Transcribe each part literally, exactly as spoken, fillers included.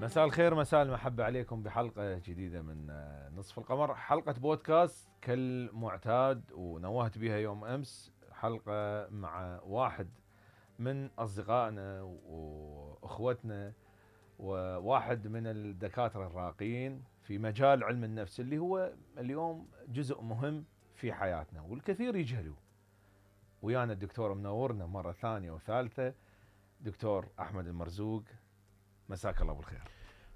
مساء الخير، مساء المحبة عليكم بحلقة جديدة من نصف القمر، حلقة بودكاست كالمعتاد ونوهت بها يوم أمس، حلقة مع واحد من أصدقائنا وأخوتنا وواحد من الدكاترة الراقين في مجال علم النفس اللي هو اليوم جزء مهم في حياتنا والكثير يجهلوه. ويانا الدكتور منورنا مرة ثانية وثالثة، دكتور أحمد المرزوق، مساك الله بالخير.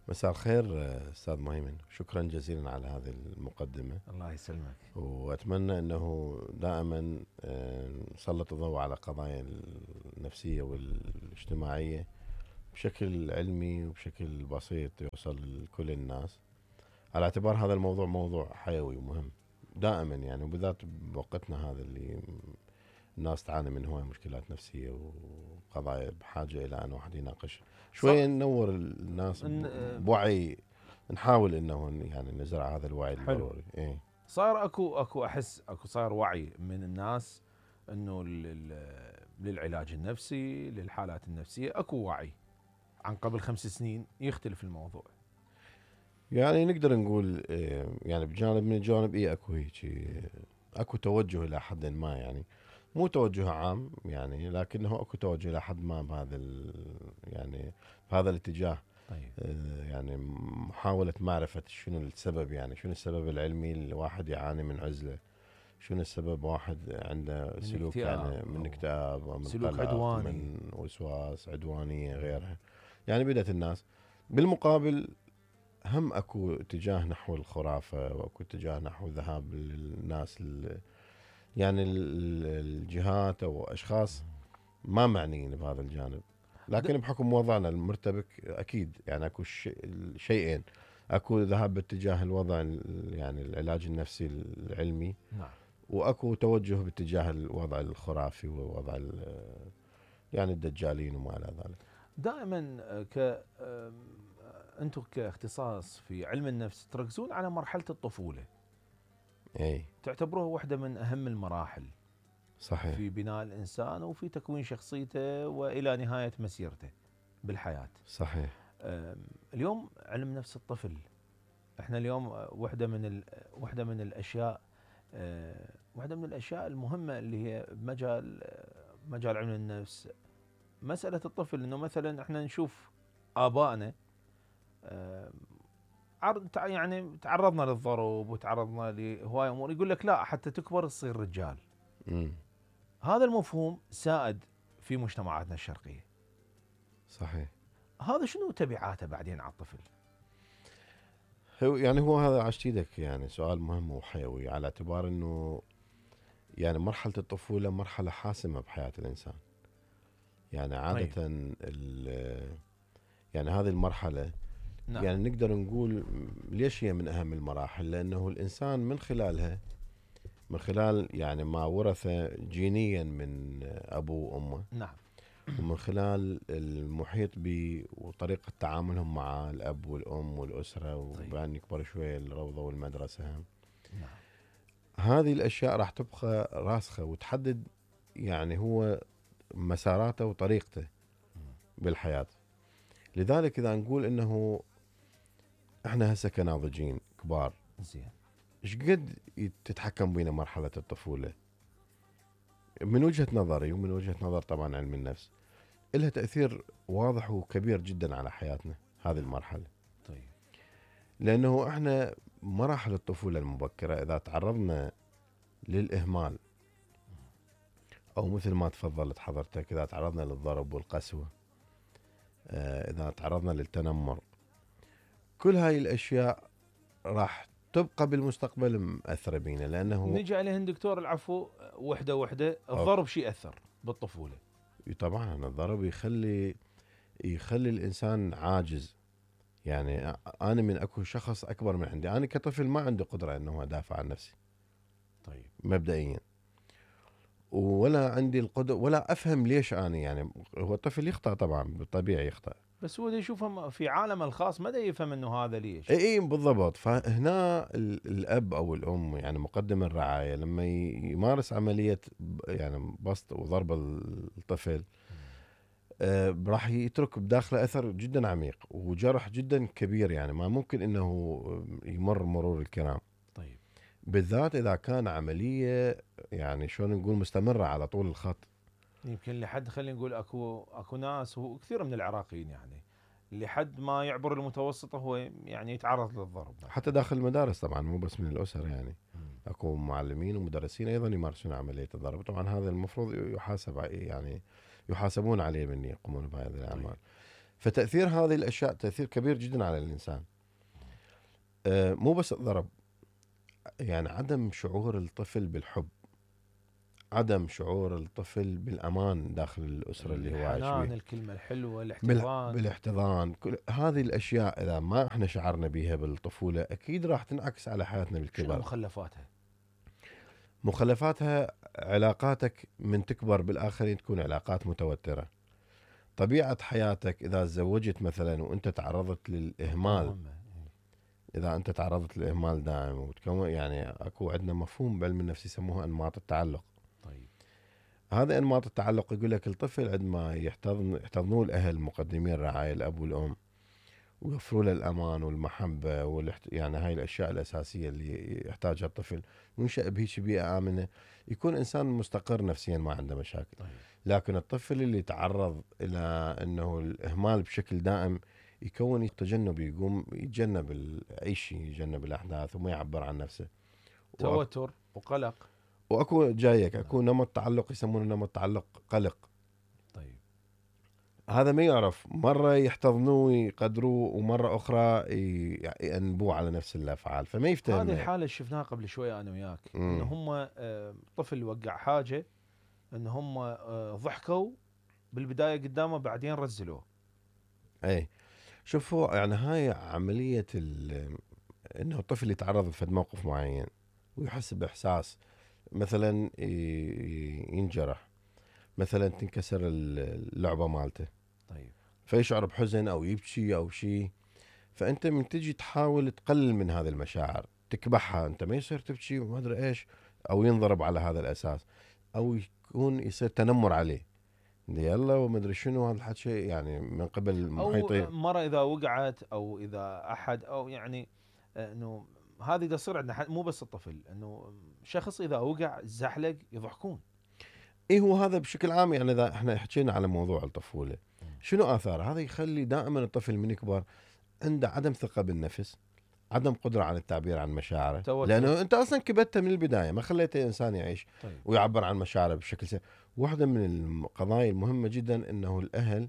مساء الخير أستاذ مهيمن، شكرا جزيلا على هذه المقدمة. الله يسلمك. وأتمنى أنه دائما نسلط الضوء على قضايا النفسية والاجتماعية بشكل علمي وبشكل بسيط يوصل لكل الناس، على اعتبار هذا الموضوع موضوع حيوي ومهم دائما يعني، وبالذات بوقتنا هذا اللي الناس تعاني من هواي مشكلات نفسية وقضايا بحاجة إلى أن واحد يناقش شوية، ننور الناس بوعي، نحاول إنه يعني نزرع هذا الوعي الضروري. إيه؟ صار أكو أكو أحس أكو صار وعي من الناس إنه للعلاج النفسي للحالات النفسية أكو وعي عن قبل خمس سنين، يختلف الموضوع. يعني نقدر نقول يعني بجانب من الجوانب إيه أكو هيك أكو توجه إلى حد ما، يعني مو توجه عام يعني، لكنه اكو توجه الى حد ما بهذا يعني بهذا الاتجاه. طيب. آه يعني محاولة معرفة شنو السبب، يعني شنو السبب العلمي الواحد يعاني من عزلة، شنو السبب واحد عنده سلوك يعني من اكتئاب ومن سلوك قلق عدواني، من وسواس، عدوانية، غيرها. يعني بدأت الناس بالمقابل هم اكو اتجاه نحو الخرافة، واكو اتجاه نحو ذهاب الناس يعني الجهات او اشخاص ما معنيين بهذا الجانب، لكن بحكم وضعنا المرتبك اكيد يعني اكو شيئين، اكو ذهاب باتجاه الوضع يعني العلاج النفسي العلمي، نعم، واكو توجه باتجاه الوضع الخرافي ووضع يعني الدجالين وما الى ذلك. دائما ك انتم كاختصاص في علم النفس تركزون على مرحلة الطفولة. اي تعتبروها واحدة من اهم المراحل صحيح في بناء الانسان وفي تكوين شخصيته والى نهاية مسيرته بالحياة. صحيح. اليوم علم نفس الطفل، احنا اليوم واحدة من واحدة من الاشياء واحدة من الاشياء المهمة اللي هي بمجال مجال علم النفس مسألة الطفل، انه مثلا احنا نشوف ابائنا يعني تعرضنا للضرب وتعرضنا لهواي امور، يقول لك لا حتى تكبر تصير رجال. م. هذا المفهوم سائد في مجتمعاتنا الشرقية. صحيح. هذا شنو تبعاته بعدين على الطفل؟ هو يعني هو هذا عشتيدك يعني سؤال مهم وحيوي، على اعتبار انه يعني مرحلة الطفولة مرحلة حاسمة بحياة الانسان. يعني عادة طيب. يعني هذه المرحلة نعم. يعني نقدر نقول ليش هي من أهم المراحل، لأنه الإنسان من خلالها، من خلال يعني ما ورثه جينيا من أبوه وأمه، نعم، ومن خلال المحيط به وطريقة تعاملهم مع الأب والأم والأسرة، وبعدين يكبر شوية الروضة والمدرسة، نعم. هذه الأشياء راح تبقى راسخة وتحدد يعني هو مساراته وطريقته بالحياة. لذلك إذا نقول إنه إحنا هسه كناضجين كبار، زين، إيش قد تتحكم بينا مرحلة الطفولة؟ من وجهة نظري ومن وجهة نظر طبعا علم النفس، إلها تأثير واضح وكبير جدا على حياتنا هذه المرحلة. طيب. لأنه إحنا مراحل الطفولة المبكرة إذا تعرضنا للإهمال، أو مثل ما تفضلت حضرتك إذا تعرضنا للضرب والقسوة، إذا تعرضنا للتنمر، كل هاي الأشياء راح تبقى بالمستقبل مأثرة بينا. لأنه نجي عليهن دكتور العفو وحدة وحدة. الضرب شيء أثر بالطفولة؟ طبعا الضرب يخلي يخلي الإنسان عاجز. يعني أنا من أكو شخص أكبر من عندي، أنا كطفل ما عندي قدرة أنه أدافع عن نفسي. طيب. مبدئيا، ولا عندي القدرة ولا أفهم ليش أنا يعني. هو الطفل يخطأ طبعا، بالطبيعي يخطأ، بس هو يشوفه في عالمه الخاص ما يفهم انه هذا ليش. اي اي بالضبط. فهنا الاب او الام يعني مقدم الرعايه لما يمارس عمليه يعني بسط وضرب الطفل، آه، راح يترك بداخله اثر جدا عميق وجرح جدا كبير، يعني ما ممكن انه يمر مرور الكرام. طيب. بالذات اذا كان عمليه يعني شلون نقول مستمره على طول الخط. يمكن لحد خلينا نقول اكو اكو ناس وكثير من العراقيين يعني لحد ما يعبر المتوسطه هو يعني يتعرض للضرب مثلاً. حتى داخل المدارس طبعا مو بس من الاسر، يعني مم. اكو معلمين ومدرسين ايضا يمارسون عمليه الضرب، طبعا هذا المفروض يحاسب ع- يعني يحاسبون عليه من يقومون بهذه الاعمال. طيب. فتاثير هذه الاشياء تاثير كبير جدا على الانسان. آه، مو بس الضرب، يعني عدم شعور الطفل بالحب، عدم شعور الطفل بالامان داخل الاسره اللي هو عايش الحنان، بيها، الكلمه الحلوه، بال... الاحتضان. بالاحتضان، كل هذه الاشياء اذا ما احنا شعرنا بها بالطفوله اكيد راح تنعكس على حياتنا شنو بالكبر. مخلفاتها؟ مخلفاتها علاقاتك من تكبر بالاخرين تكون علاقات متوتره. طبيعه حياتك اذا تزوجت مثلا وانت تعرضت للاهمال، مهمة. اذا انت تعرضت للاهمال دائم وتكون يعني اكو عندنا مفهوم بعلم النفس يسموها انماط التعلق. طيب. هذا انماط التعلق يقول لك الطفل عندما يحتضن يحتضنوه الاهل مقدمين الرعايه الاب والام ويوفروا له الامان والمحبه والاحت... يعني هاي الاشياء الاساسيه اللي يحتاجها الطفل، وينشا بهيك بيئه امنه، يكون انسان مستقر نفسيا ما عنده مشاكل. طيب. لكن الطفل اللي تعرض الى انه الاهمال بشكل دائم يكون تجنب، يقوم يتجنب ال- اي شيء، يتجنب الاحداث وما يعبر عن نفسه. وأك- توتر وقلق. واكو جايك اكو نمط تعلق يسمونه نمط تعلق قلق. طيب. هذا ما يعرف، مرة يحتضنوه ويقدروه ومرة أخرى ي- يأنبوه على نفس الأفعال، فما يفتهم. هذه الحاله اللي شفناها قبل شويه انا وياك، ان مم. هم آه، طفل وقع حاجه، ان هم آه، ضحكوا بالبدايه قدامه بعدين رزلوه. أي شوفوا، يعني هاي عملية ال- إنه الطفل يتعرض لفد موقف معين ويحس بإحساس، مثلا ي- ينجرح، مثلا تنكسر ال- اللعبة مالته، طيب. فيشعر بحزن أو يبكي أو شيء. فأنت من تجي تحاول تقلل من هذه المشاعر، تكبحها، أنت ما يصير تبكي وما أدري إيش، أو ينضرب على هذا الأساس، او يكون يصير تنمر عليه، يلا وما ادري شنو هذا الحكي، يعني من قبل او المحيطين. مره اذا وقعت او اذا احد او يعني آه، انه هذه دا تصير عندنا ح- مو بس الطفل، انه شخص اذا وقع زحلق يضحكون. ايه هو هذا بشكل عام، يعني اذا احنا حكينا على موضوع الطفوله شنو اثار هذا، يخلي دائما الطفل من يكبر عنده عدم ثقه بالنفس، عدم قدره على التعبير عن مشاعره، توتر. لانه انت اصلا كبتته من البدايه، ما خليته انسان يعيش طيب. ويعبر عن مشاعره بشكل سهل. واحده من القضايا المهمه جدا انه الاهل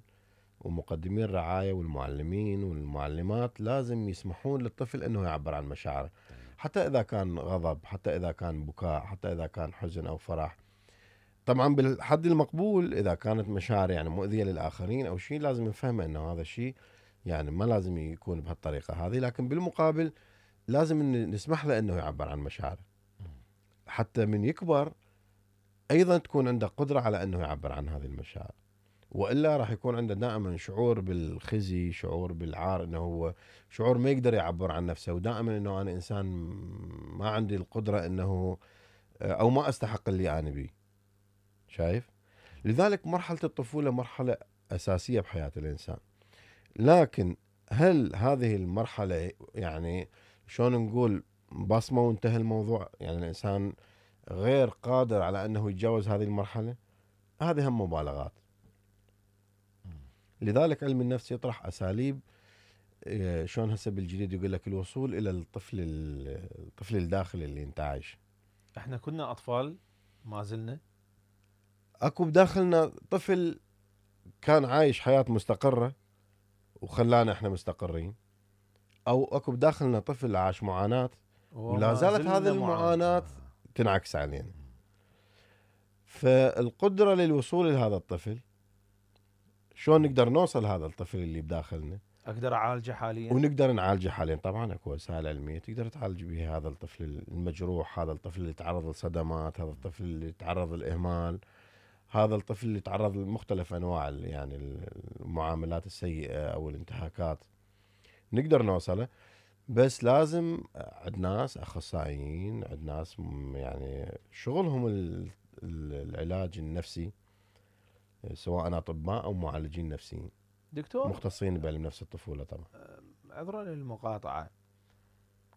ومقدمين الرعايه والمعلمين والمعلمات لازم يسمحون للطفل انه يعبر عن مشاعره، حتى اذا كان غضب، حتى اذا كان بكاء، حتى اذا كان حزن او فرح. طبعا بالحد المقبول، اذا كانت مشاعر يعني مؤذيه للاخرين او شيء لازم نفهم انه هذا الشيء يعني ما لازم يكون بهالطريقه هذه، لكن بالمقابل لازم إن نسمح له انه يعبر عن مشاعره، حتى من يكبر ايضا تكون عنده قدره على انه يعبر عن هذه المشاعر. والا راح يكون عنده دائما شعور بالخزي، شعور بالعار، انه هو شعور ما يقدر يعبر عن نفسه، ودائما انه انا انسان ما عندي القدره انه او ما استحق اللي انا بيه. شايف؟ لذلك مرحله الطفوله مرحله اساسيه بحياه الانسان. لكن هل هذه المرحله يعني شلون نقول بصمه وانتهى الموضوع، يعني الانسان غير قادر على انه يتجاوز هذه المرحله؟ هذه هم مبالغات. لذلك علم النفس يطرح اساليب، إيه، شلون هسه بالجديد يقول لك الوصول الى الطفل الطفل الداخلي اللي انت عايش. احنا كنا اطفال ما زلنا. اكو بداخلنا طفل كان عايش حياه مستقره وخلانا احنا مستقرين، او اكو بداخلنا طفل عاش معاناه ولا وما زالت زلنا هذه المعاناه تنعكس علينا. فالقدره للوصول لهذا الطفل، شلون نقدر نوصل هذا الطفل اللي بداخلنا اقدر اعالجه حاليا. ونقدر نعالجه حاليا. طبعا اكو وسائل علميه تقدر تعالج بها هذا الطفل المجروح، هذا الطفل اللي تعرض لصدمات، هذا الطفل اللي تعرض للاهمال، هذا الطفل اللي تعرض لمختلف انواع ال- يعني المعاملات السيئه او الانتهاكات، نقدر نوصله. بس لازم عند ناس اخصائيين، عند ناس م- يعني شغلهم ال- ال- العلاج النفسي، سواء اطباء او معالجين نفسيين دكتور مختصين بعلم نفس الطفوله طبعا. عذرا للمقاطعه،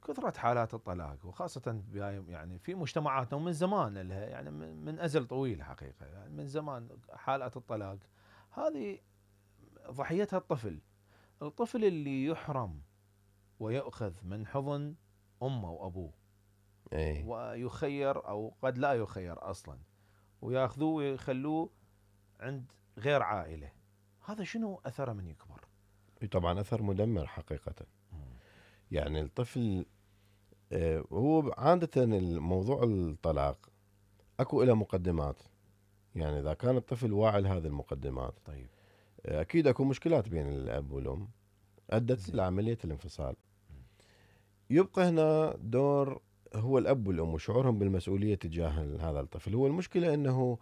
كثرة حالات الطلاق وخاصة يعني في مجتمعاتنا ومن زمان لها يعني من أزل طويل حقيقة، يعني من زمان حالات الطلاق هذه ضحيتها الطفل. الطفل اللي يحرم ويؤخذ من حضن أمه وأبوه اي ويخير أو قد لا يخير أصلا وياخذوه ويخلوه عند غير عائلة، هذا شنو أثره من يكبر؟ طبعا اثر مدمر حقيقه. يعني الطفل آه، هو عادة الموضوع الطلاق اكو له مقدمات، يعني اذا كان الطفل واعي لهذه المقدمات طيب آه، اكيد اكو مشكلات بين الاب والام ادت زين. لعملية الانفصال. يبقى هنا دور هو الاب والام وشعورهم بالمسؤولية تجاه هذا الطفل. هو المشكلة انه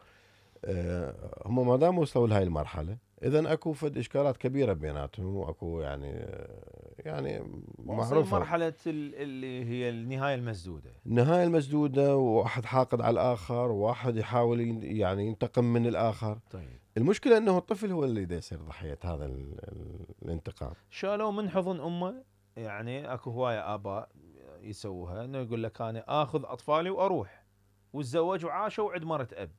آه، هم ما دام وصلوا لهي المرحلة اذا اكو فد اشكالات كبيرة بيناتهم، واكو يعني آه، يعني معروفة معروفة مرحلة اللي هي النهاية المسدودة. النهاية المسدودة، وواحد حاقد على الآخر، وواحد يحاول ين- يعني ينتقم من الآخر. طيب المشكلة أنه الطفل هو اللي دا يصير ضحية هذا ال- ال- الانتقام. شالوه من حضن امه، يعني اكو هواية اباء يسووها انه يقول لك انا اخذ اطفالي واروح وتزوج وعاشوا وعد مرت اب،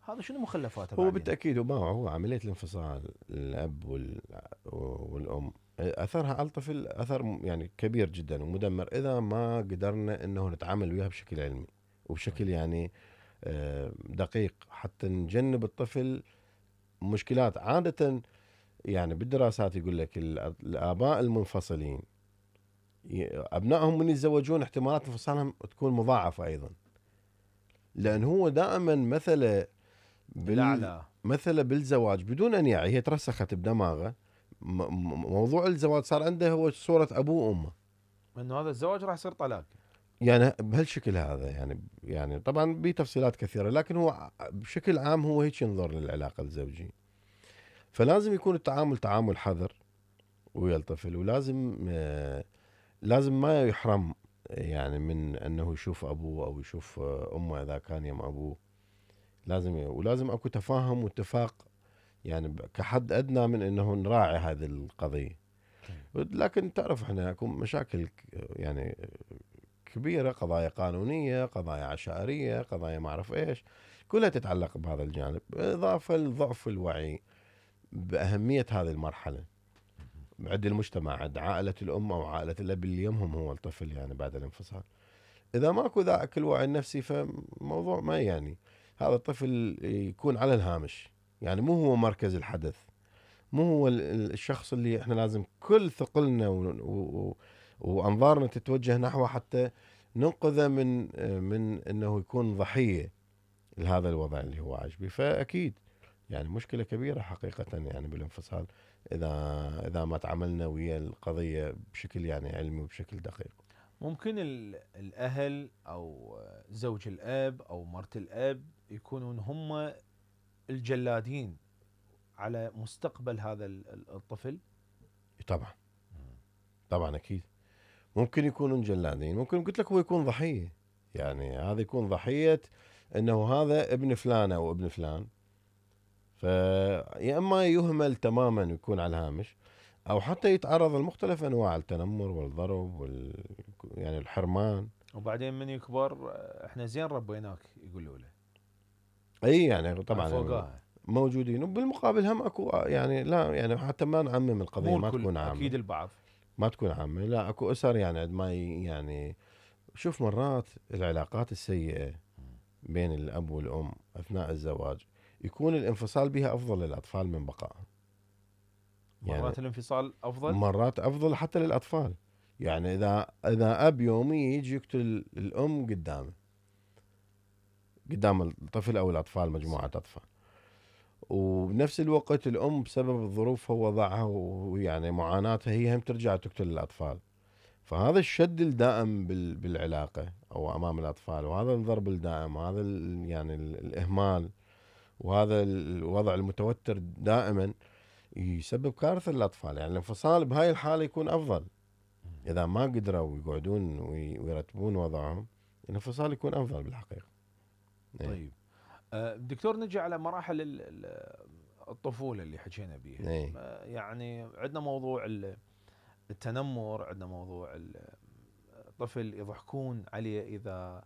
هذا شنو مخلفاته هو بعدين؟ بالتأكيد وما هو عملية الانفصال الأب وال- والأم أثرها على الطفل أثر م- يعني كبير جدا ومدمر إذا ما قدرنا أنه نتعامل وياها بشكل علمي وبشكل يعني آه، دقيق حتى نجنب الطفل مشكلات. عادة يعني بالدراسات يقول لك الأ- الآباء المنفصلين ي- أبنائهم من يتزوجون احتمالات انفصالهم تكون مضاعفة أيضا، لأن هو دائما مثله بال الاعلى مثله بالزواج بدون أن يعي، هي ترسخت بدماغه. م- م- موضوع الزواج صار عنده هو صورة أبوه وأمه، انه هذا الزواج راح يصير طلاق. يعني بهالشكل هذا. يعني يعني طبعا بتفصيلات كثيرة، لكن هو بشكل عام هو هيك ينظر للعلاقة الزوجية. فلازم يكون التعامل تعامل حذر ويا الطفل، ولازم آه لازم ما يحرم يعني من انه يشوف ابوه او يشوف امه اذا كان يم ابوه. لازم ولازم اكو تفاهم واتفاق يعني كحد ادنى من انه نراعي هذه القضيه. لكن تعرف احنا اكو مشاكل يعني كبيره، قضايا قانونيه، قضايا عشائريه، قضايا ما اعرف ايش، كلها تتعلق بهذا الجانب، اضافه لضعف الوعي باهميه هذه المرحله عند المجتمع، عند عائله الام او عائله الاب اللي يمهم هو الطفل يعني بعد الانفصال. اذا ماكو ذاك الوعي النفسي فموضوع ما يعني هذا الطفل يكون على الهامش، يعني مو هو مركز الحدث، مو هو الشخص اللي احنا لازم كل ثقلنا و... و... وانظارنا تتوجه نحوه حتى ننقذه من من انه يكون ضحيه لهذا الوضع اللي هو عايش به. فاكيد يعني مشكله كبيره حقيقه يعني بالانفصال اذا اذا ما تعاملنا ويا القضيه بشكل يعني علمي وبشكل دقيق. ممكن الاهل او زوج الاب او مرت الاب يكونون هم الجلادين على مستقبل هذا الطفل. طبعا طبعا اكيد ممكن يكونون جلادين، ممكن قلت لك هو يكون ضحيه، يعني هذا يكون ضحيه انه هذا ابن فلان او ابن فلان، فيا اما يهمل تماما ويكون على الهامش، او حتى يتعرض لمختلف انواع التنمر والضرب وال يعني الحرمان. وبعدين من يكبر احنا زين ربيناك يقولوا له. اي يعني طبعا فوقها موجودين، وبالمقابل هم اكو يعني لا يعني حتى ما نعمم القضيه، مو ما الكل تكون عامه، اكيد البعض ما تكون عامه، لا اكو اسر يعني عند ما يعني شوف مرات العلاقات السيئه بين الاب والام اثناء الزواج يكون الانفصال بها افضل للاطفال من بقائها. مرات يعني الانفصال افضل، مرات افضل حتى للاطفال. يعني اذا اذا اب يومي يجي يقتل الام قدامه قدام الطفل او الاطفال مجموعه اطفال، وبنفس الوقت الام بسبب الظروف هو وضعها ويعني معاناتها هي هم ترجع تقتل الاطفال، فهذا الشد الدائم بالعلاقه او امام الاطفال، وهذا الضرب الدائم، وهذا يعني الاهمال، وهذا الوضع المتوتر دائما يسبب كارثه للاطفال. يعني الانفصال بهاي الحاله يكون افضل اذا ما قدروا يقعدون ويرتبون وضعهم، الانفصال يكون افضل بالحقيقه. طيب آه، دكتور نجي على مراحل ال- ال- الطفولة اللي حكينا بيها. اي آه، يعني عندنا موضوع ال- التنمر، عندنا موضوع ال- الطفل يضحكون عليه إذا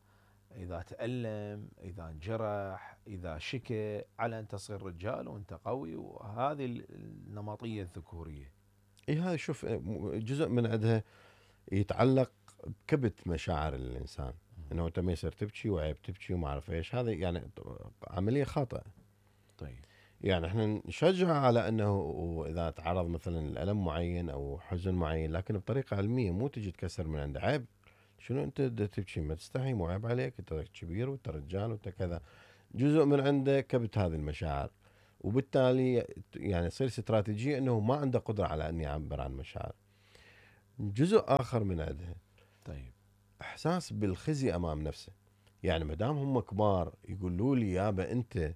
إذا تألم، إذا انجرح، إذا شكى، على أن تصير رجال وأنت قوي، وهذه النمطية الذكورية. اي هاي شوف جزء من عندها يتعلق بكبت مشاعر الانسان، انه انت ما يصير تبكي وعيب تبكي وما اعرف ايش، هذا يعني عمليه خاطئه. طيب. يعني احنا نشجع على انه اذا تعرض مثلا لالم معين او حزن معين، لكن بطريقه علميه، مو تجي تكسر من عنده. عيب شنو انت دا تبكي؟ ما تستحي؟ مو عيب عليك؟ انت كبير وانت رجال وانت كذا. جزء من عنده كبت هذه المشاعر، وبالتالي يعني يصير استراتيجيه انه ما عنده قدره على ان يعبر عن مشاعر. جزء اخر من عندها طيب. احساس بالخزي امام نفسه. يعني ما دام هم كبار يقولوا لي يابا انت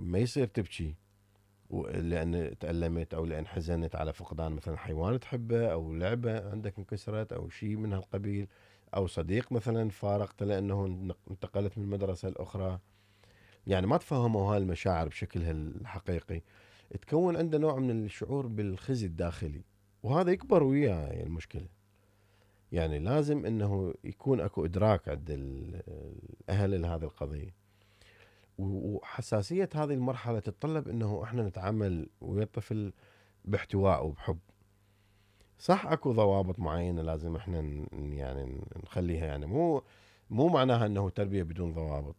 ما يصير تبكي لان تألمت او لان حزنت على فقدان مثلا حيوان تحبه، او لعبه عندك انكسرت، او شيء من هالقبيل، او صديق مثلا فارقته لانه انتقلت من المدرسه الاخرى. يعني ما تفهموا هاي المشاعر بشكلها الحقيقي، تكون عنده نوع من الشعور بالخزي الداخلي، وهذا يكبر وياه المشكله. يعني لازم انه يكون اكو ادراك عند الاهل لهذه القضيه، وحساسيه هذه المرحله تتطلب انه احنا نتعامل ويا الطفل باحتواء وبحب. صح اكو ضوابط معينه لازم احنا يعني نخليها، يعني مو مو معناها انه تربيه بدون ضوابط،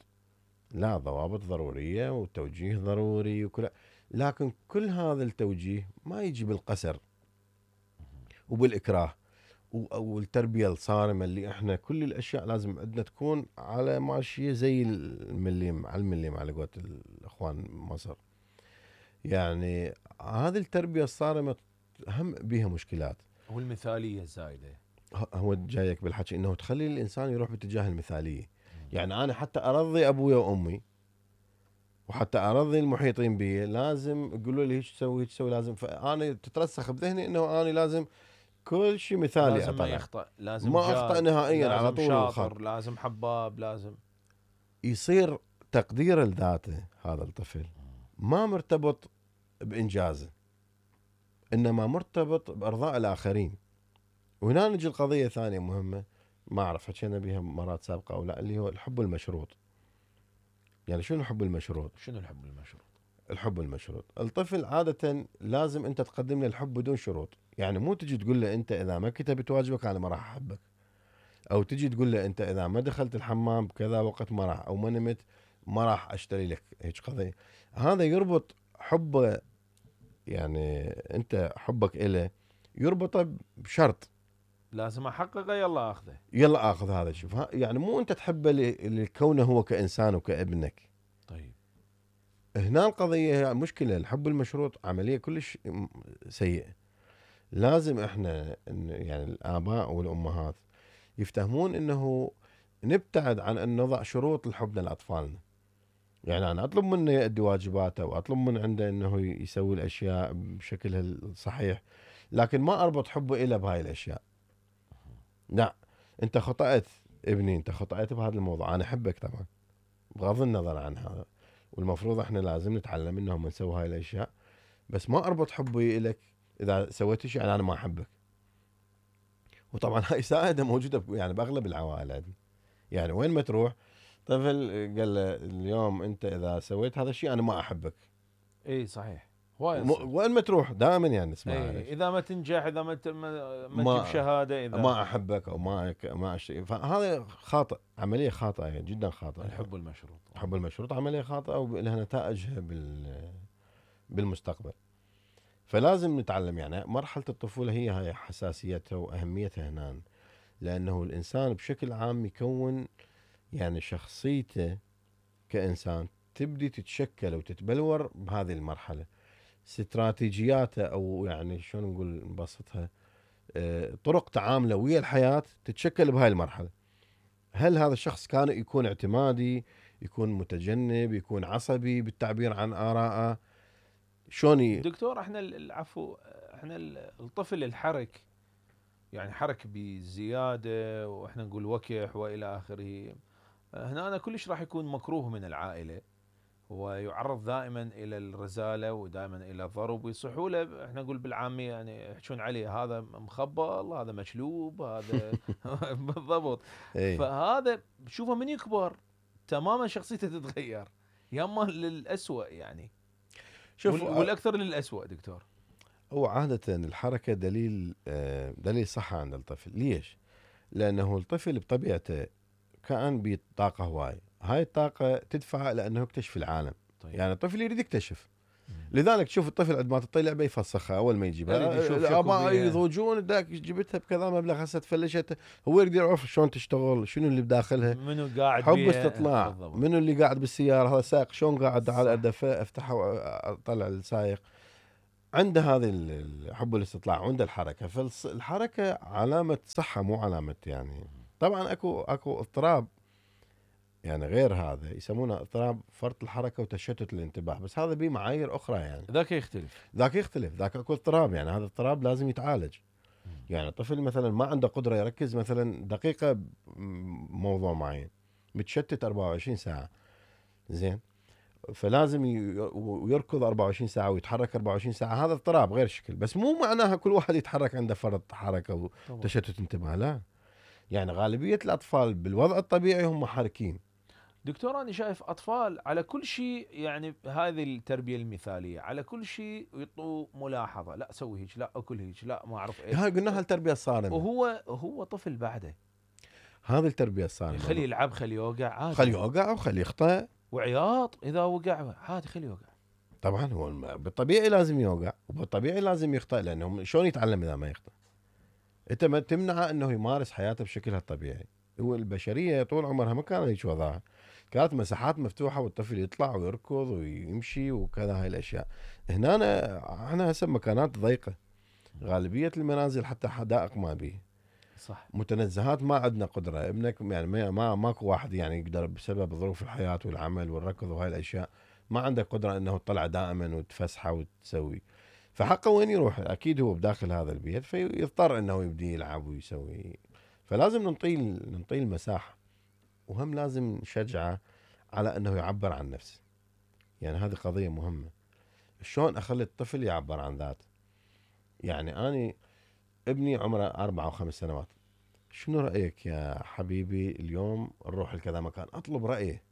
لا، ضوابط ضروريه وتوجيه ضروري وكل، لكن كل هذا التوجيه ما يجي بالقسر وبالاكراه والتربيه الصارمه، اللي احنا كل الاشياء لازم عندنا تكون على ماشيه زي المليم على المليم على قولة الاخوان مصر. يعني هذه التربيه الصارمه هم بيها مشكلات. والمثالية الزايدة. هو جايك بالحكي انه تخلي الانسان يروح باتجاه المثاليه. يعني انا حتى ارضي ابوي وامي وحتى ارضي المحيطين بي لازم يقولوا لي هيك تسوي هيك تسوي، لازم، فانا تترسخ بذهني انه انا لازم كل شيء مثالي لازم ما اطلع، يخطأ، لازم ما اخطا جاد، نهائيا على لازم طول الخط. شاطر، لازم حباب، لازم. يصير تقدير لذاته هذا الطفل ما مرتبط بانجازه، انما مرتبط بارضاء الاخرين. وهنا نجي القضيه ثانيه مهمه، ما اعرف حكينا بها مرات سابقه او لا، اللي هو الحب المشروط. يعني شنو الحب المشروط؟ شنو الحب المشروط؟ الحب المشروط، الطفل عادة لازم انت تقدم له الحب بدون شروط. يعني مو تجي تقول له انت اذا ما كتبت واجبك انا ما راح احبك، او تجي تقول له انت اذا ما دخلت الحمام بكذا وقت ما راح، او ما نمت ما راح اشتري لك هيك قضية. هذا يربط حبه، يعني انت حبك إله يربطه بشرط، لازم احققه، يلا اخذه. يلا اخذ هذا. شوف يعني مو انت تحبه لكونه هو كانسان وكابنك. طيب. هنا القضية مشكلة، الحب المشروط عملية كلش سيئة. لازم احنا يعني الآباء والأمهات يفتهمون انه نبتعد عن ان نضع شروط لحبنا لأطفالنا. يعني انا اطلب منه يؤدي واجباته واطلب من عنده انه يسوي الاشياء بشكلها الصحيح، لكن ما اربط حبه إله بهاي الاشياء. لا، انت خطأت ابني، انت خطأت بهذا الموضوع، انا احبك طبعا بغض النظر عن هذا، والمفروض احنا لازم نتعلم انهم نسوي هاي الاشياء، بس ما اربط حبي لك اذا سويت شيء يعني انا ما احبك. وطبعا هاي سائده موجوده يعني باغلب العوائل عندنا. يعني وين ما تروح طفل قال له اليوم انت اذا سويت هذا الشيء انا ما احبك. اي صحيح، هواي م- يصير. وين ما تروح دائما يعني نسمعها هاي اي الشيء. اذا ما تنجح، اذا ما ت- ما, ما تجيب ما شهادة، اذا. ما احبك او ما ما أشتري. فهذا خاطئ، عمليه خاطئه يعني جدا خاطئه. يعني الحب المشروط. الحب المشروط عمليه خاطئه ولها نتائجها بال بالمستقبل. فلازم نتعلم يعني مرحلة الطفولة هي هاي حساسيتها وأهميتها هنا، لأنه الإنسان بشكل عام يكون يعني شخصيته كإنسان تبدي تتشكل وتتبلور بهذه المرحلة. استراتيجياته أو يعني شلون نقول نبسطها، آه، طرق تعامله ويا الحياة تتشكل بهاي المرحلة. هل هذا الشخص كان يكون اعتمادي، يكون متجنب، يكون عصبي بالتعبير عن آرائه، شلون ي... دكتور، احنا ال- العفو، احنا ال- الطفل الحرك، يعني حرك بزيادة، واحنا نقول وكح والى اخره، هنا أنا كلش راح يكون مكروه من العائلة. ويعرض دائما الى الرزاله ودائما الى الضرب، ويصحوا له احنا نقول بالعاميه يعني يحجون عليه هذا مخبل، هذا مشلوب، هذا بالضبط. اي فهذا شوفه من يكبر تماما شخصيته تتغير، ياما للأسوأ يعني. شوف وال- والاكثر للأسوأ دكتور. هو عادة الحركة دليل آه، دليل صحة عند الطفل. ليش؟ لأنه الطفل بطبيعته كان بطاقة هواي، هاي الطاقة تدفعه لأنه يكتشف العالم. طيب. يعني الطفل يريد يكتشف، مم. لذلك تشوف الطفل عندما تعطيه لعبة يفسخها أول ما يجيبها. يريد يشوف شكو الآباء بيها. يضوجون ذاك جبتها بكذا مبلغ هسه تفلشت، هو يريد يعرف شلون تشتغل، شنو اللي بداخلها، منو قاعد حب بيها. استطلاع، بالضبط. منو اللي قاعد بالسيارة، هذا سائق شلون قاعد صح. على الدفة افتحه واطلع السائق. عنده هذه ال- حب الاستطلاع وعنده الحركة، فالحركة علامة صحة مو علامة يعني. طبعا اكو اكو اضطراب يعني غير هذا يسمونه اضطراب فرط الحركة وتشتت الانتباه، بس هذا به معايير اخرى يعني. ذاك يختلف. ذاك يختلف، ذاك اكو اضطراب يعني، هذا اضطراب لازم يتعالج. يعني الطفل مثلا ما عنده قدرة يركز مثلا دقيقة بموضوع معين، متشتت أربعة وعشرين ساعة، زين، فلازم ي- ويركض أربعة وعشرين ساعة ويتحرك أربعة وعشرين ساعة، هذا اضطراب غير شكل. بس مو معناها كل واحد يتحرك عنده فرط حركة طبعا. وتشتت انتباه، لا. يعني غالبية الأطفال بالوضع الطبيعي هم حركين. دكتور انا شايف اطفال على كل شيء، يعني هذه التربيه المثاليه، على كل شيء يعطوا ملاحظه، لا سوي هيك، لا اكل هيك، لا ما اعرف ايش. هاي قلناها التربية الصارمة، وهو هو طفل بعده، هذه التربية الصارمة. خليه يلعب، خليه يوقع عادي، خليه يوقع وخليه يخطأ. وعياط اذا وقع عادي خليه يوقع. طبعا هو الم- بالطبيعي لازم يوقع وبالطبيعي لازم يخطأ، لأنه شلون يتعلم إذا ما يخطأ؟ أنت ما تمنعه أنه يمارس حياته بشكلها الطبيعي. هو البشرية طول عمرها ما كان هيك وضعها، كانت مساحات مفتوحة والطفل يطلع ويركض ويمشي وكذا هاي الأشياء. هنا أنا احنا هسه مكانات ضيقة، غالبية المنازل حتى حدائق ما بيه، صح. متنزهات ما عندنا قدرة. ابنك يعني ما ما ماكو واحد يعني يقدر بسبب ظروف الحياة والعمل والركض وهاي الأشياء ما عنده قدرة انه تطلع دائما وتفسحه وتسوي، فحقه وين يروح؟ اكيد هو بداخل هذا البيت فيضطر انه يبدي يلعب ويسوي. فلازم ننطيه ننطيه المساحة، وهم لازم نشجعه على انه يعبر عن نفسه. يعني هذه قضية مهمة، شلون اخلي الطفل يعبر عن ذاته. يعني اني ابني عمره اربع او خمس سنوات، شنو رأيك يا حبيبي اليوم نروح لكذا مكان؟ اطلب رأيه،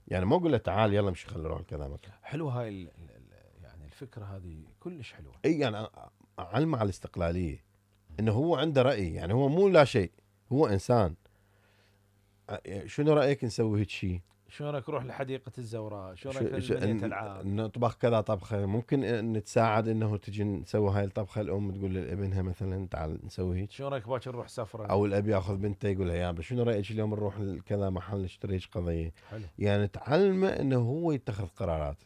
يعني ما اقول له تعال يلا مش خلينا نروح لكذا مكان. حلوه هاي ال ال ال يعني الفكره هذه كلش حلوه. اي يعني اعلمه على الاستقلالية، انه هو عنده رأي، يعني هو مو لا شيء، هو انسان. شنو رأيك نسوي هيك شيء؟ شو رايك نروح لحديقه الزوراء؟ شو شو- رايك شو- بنية ن- العاب؟ نطبخ كذا طبخة، ممكن نتساعد انه تجي نسوي هاي الطبخة. الام تقول لابنها مثلا تعال نسوي هيك، شو رايك باكر نروح سفره؟ او الاب ياخذ بنته يقول لها يابا شنو رايك اليوم نروح لكذا محل نشتري هيك قضيه. حلو. يعني تعلمه انه هو يتخذ قرارات،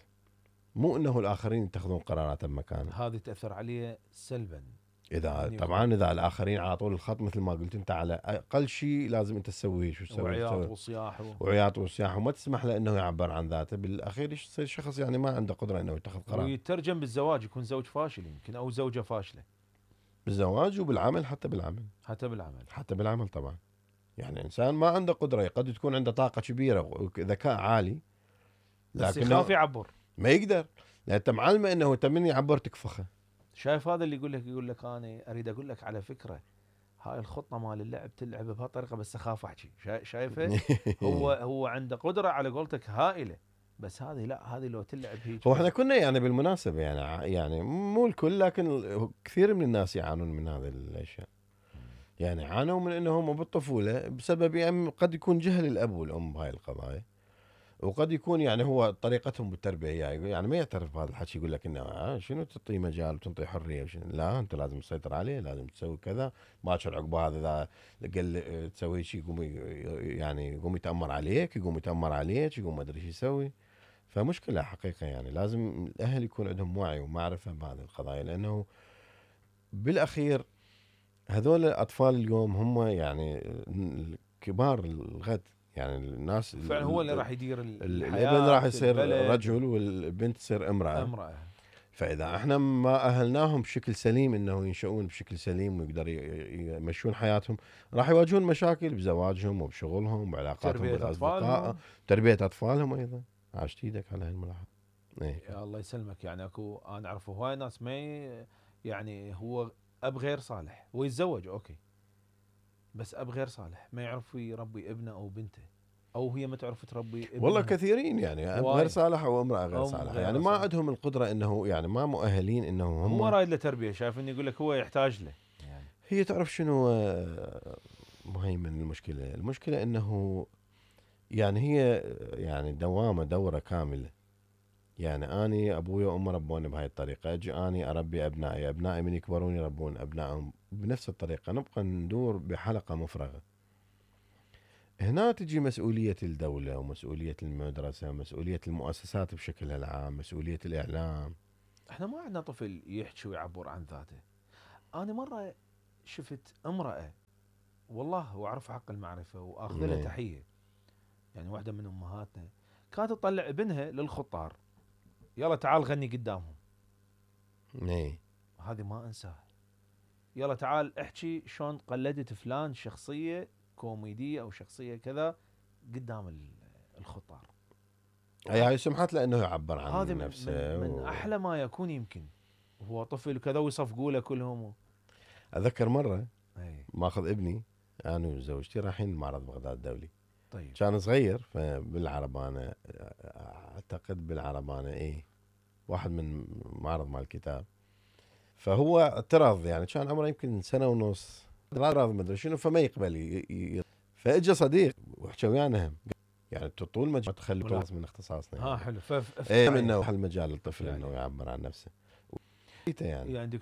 مو انه الاخرين يتخذون قرارات بمكانه. هذه تاثر عليه سلبا. اذا يعني طبعا اذا الاخرين على طول الخط مثل ما قلت انت، على اقل شيء لازم انت تسوي شو تسوي وعياط تسوي. وصياح و... وعياط وصياح، وما تسمح له انه يعبر عن ذاته، بالاخير يصير شخص يعني ما عنده قدره انه يتخذ قرار. ويترجم بالزواج، يكون زوج فاشل يمكن او زوجه فاشله. بالزواج وبالعمل، حتى بالعمل، حتى بالعمل. حتى بالعمل طبعا. يعني انسان ما عنده قدره، قد تكون عنده طاقه كبيره وذكاء عالي بس لكنه يخاف يعبر. ما يقدر، لان انت معلمه انه انت من يعبر تكفخه. شايف هذا اللي يقول لك يقول لك انا اريد اقول لك على فكره، هاي الخطه مال اللعب تلعب بهالطريقه بس اخاف احكي. شا- شايفه؟ هو هو عنده قدره على قولتك هائله، بس هذه لا، هذه لو تلعب هيك. هو احنا كنا يعني بالمناسبه يعني ع- يعني مو الكل لكن كثير من الناس يعانون من هذه الاشياء. يعني عانوا من انهم بالطفوله بسبب يعني قد يكون جهل الاب والام بهاي القضايا، وقد يكون يعني هو طريقتهم بالتربيه يعني, يعني ما يعترف بهذا الحكي، يقول لك انه آه شنو تعطيه مجال وتنطيه حريه وشنو. لا انت لازم تسيطر عليه، لازم تسوي كذا، باكر عقب هذا اذا قال تسوي شيء يقوم ي- يعني يقوم يتامر عليك، يقوم يتامر عليك، يقوم ما ادري شو يسوي. فمشكله حقيقه يعني، لازم الاهل يكون عندهم وعي ومعرفه بهذه القضايا، لانه بالاخير هذول الاطفال اليوم هم يعني كبار الغد. يعني الناس فعلا هو اللي راح يدير ال- ال- الحياه الابن راح في يصير البلد. رجل والبنت تصير امرأة. امراه. فإذا احنا ما أهلناهم بشكل سليم انه ينشؤون بشكل سليم ويقدروا يمشون حياتهم، راح يواجهون مشاكل بزواجهم وبشغلهم وبعلاقاتهم تربيه بالاصدقاء، اطفالهم. تربية اطفالهم ايضا. عاشت ايدك على هالملاحظه. ايه يا الله يسلمك. يعني اكو انا اعرف هواي ناس ما ي- يعني هو اب غير صالح، هو يتزوج اوكي، بس اب غير صالح ما يعرف يربي ابنه او بنته، او هي ما تعرف تربي ابنها. والله كثيرين يعني اب غير هواي. صالح او امراه غير أم صالحه، غير يعني ما صالح. عندهم القدره انه يعني ما مؤهلين انه هم. هو رايد له تربيه، شايف انه يقول لك هو يحتاج له يعني. هي تعرف شنو آه، مهيمن المشكله؟ المشكله انه يعني هي يعني دوامه دوره كامله. يعني اني ابوي وامي ربوني بهاي الطريقه، اجي اني اربي ابنائي، ابنائي من يكبرون يربون ابنائهم بنفس الطريقه، نبقى ندور بحلقه مفرغه. هنا تجي مسؤوليه الدوله ومسؤوليه المدرسه ومسؤوليه المؤسسات بشكلها العام، مسؤوليه الاعلام. احنا ما عندنا طفل يحكي ويعبر عن ذاته. انا مره شفت امراه والله واعرف حق المعرفه واخذ لها نعم. تحيه، يعني واحده من امهاتنا كانت تطلع ابنها للخطار، يلا تعال غني قدامهم. ايه هذه ما انساها. يلا تعال احكي شلون قلدت فلان شخصيه كوميديه او شخصيه كذا قدام ال- الخطار. اي هاي سمحت له انه يعبر عن هذه من نفسه من, من و... احلى ما يكون يمكن. وهو طفل وكذا ويصفقوا له كلهم. اذكر مره اي ماخذ ابني انا وزوجتي رايحين معرض بغداد الدولي، طيب. كان صغير فبالعربانه، اعتقد بالعربانه ايه، واحد من معرض مال الكتاب. فهو اعترض، يعني كان عمره يمكن سنه ونص، اعترض ما ادري شنو، فما يقبل ي... ي... فاجى صديق وحكى ويانا هم، يعني طول ما تخلي ولا- من اختصاصنا ها يعني. حلو. ف ف- ايه انه المجال للطفل يعني- انه يعبر عن نفسه يعني. يعني